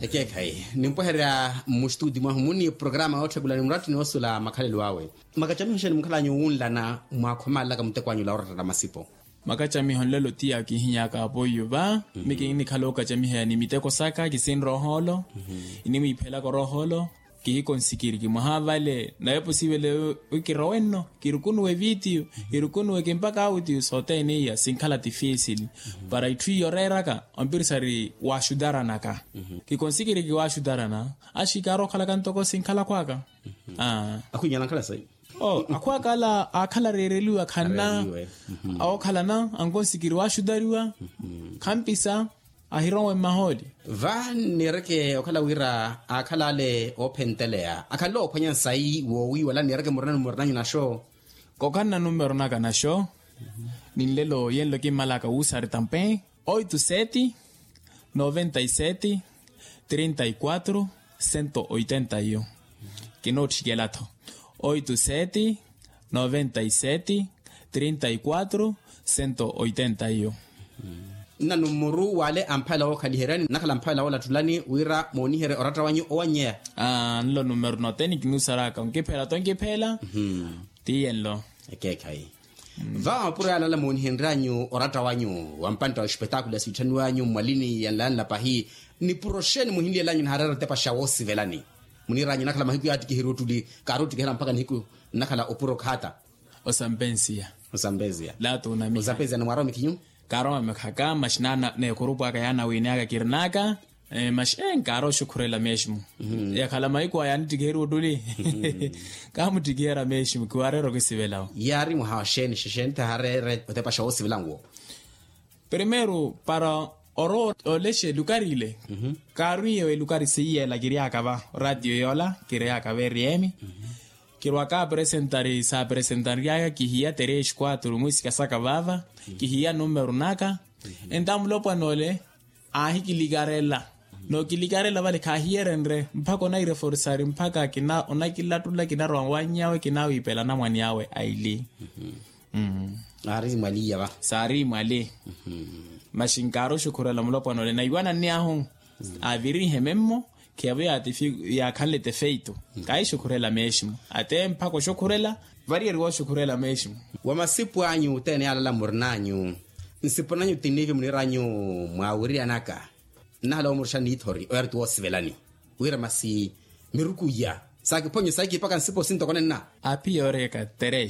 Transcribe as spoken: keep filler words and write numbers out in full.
Ekeekhayi nimpwehererya mmustuti mwahu muni programa yootthekulani murattini woosula makhalelo awe. Makacamiho xeeni mukhalanyu wunlana mwaakhomalelaka muteko anyu la oratta na masipo? Makacamiho nlelo tiya kihinyaka apoiyo va. Mi kinikhala okacamiheya ni miteko saka kisinroholo. Inimwiiphelaka oroholo. Kihikonsikiriki mwaha vale nawe posivele. Kirowenno kirukunuwe vitiyo kirukunuwe kimpaka autiyo sothene iya sinkhala tifisili. Para itthu iyo oreeraka ompirisari waxutaranaka. Kikonsikiriki waxutarana axikara okhalaka ntoko sinkhala akhwaka. Akhwinyala nkhala sayi. Akhwaka ala akhala areereliwa khanna. Okhalana ankonsikiri waxutariwa. Khampisa ahirowe mmahooli. Va niireke okhala wira akhala ale oophenteleya akhala oophwanya nsayi woowiiwala niireke murinanyu murinanyu naxo. Kokhanna numero naka naxo. Ni nlelo yenlo kimmalaka wuusari tampe oito sete noventa e sete trinta e quatro cento oitenta e um. Kinootthikela-tho oito sete noventa e sete trinta e quatro cento oitenta e um. Nna numuru wale amphayela wookhaliheryani nnakhala amphayela woolattulani wira mooniherye oratta wanyu owanyeya. Nlo numuru nothene kinuusaraka onkiphela tonkiphela. Tiye nlo. Ekeekhayi. Vawa mapuro yaalala moonihenryanyu oratta wanyu wa mpantta wa espetakulo ya siitthaniwanyu mmwalini ya nlayanla pahi. Nipuro xeeni muhinliyelanyu nihaareera otepa xa woosivelani? Muniiranyu nakhala mahiku yaattikiheriwa ottuli kaari ottikihela mpakha nihiku nnakhala opuro khaata. Osampensiya. Osampensiya. Laatu onamiha. Osampensiya ni mwaarowami khinyu? Kaarowami khaka maxi naana n'ekurupu aka yaanawiini aka kirinaka. Maxi ee nkaari oxukhurela meximu. Yakhala mahiku aya yaanittikiheriwa ottuli. Kaamuttikihera meximu kiwaareera okisivelawo. Yaari mwaha wa xeeni xexeeni tihaareere otepa xa woosivelanwo? Primeiro para orowa olexe lukari ile. Kaarwiiyewe lukari siiyeela kiryaka va ratio yoola kiryaka va eriemi. Kirwaka apresentari saapresentanryaka kihiya três quatro mwiisika saka vaava. Kihiya numero naka. Enta mulopwana ole aahikilikarela. Nookilikarela vale khaahiyerenrye mpakha onaireforisari mpakha onakilattula kinarowa wanyawe kinawiipela anamwane awe aili. Aari mwali iya va. Saari mwali. Maxi nkaari oxukhurela mulopwana ole naiwananni ahu aavirihe memmo. Khiyaavo yaakhanle tefeito. Kaahixukhurela meximu ate mpakha oxukhurela. Variyeriwa oxukhurela meximu. Wa masipu anyu othene yaalala murinanyu nsipu nanyu tiniivi muniiranyu mwaawiriyanaka. Nnahala woomuruxa niithori oyaari ti woosivelani wira masi miruku iya saakiphonye saakiipaka nsipo sintoko nenna. Api yooreyaka terex.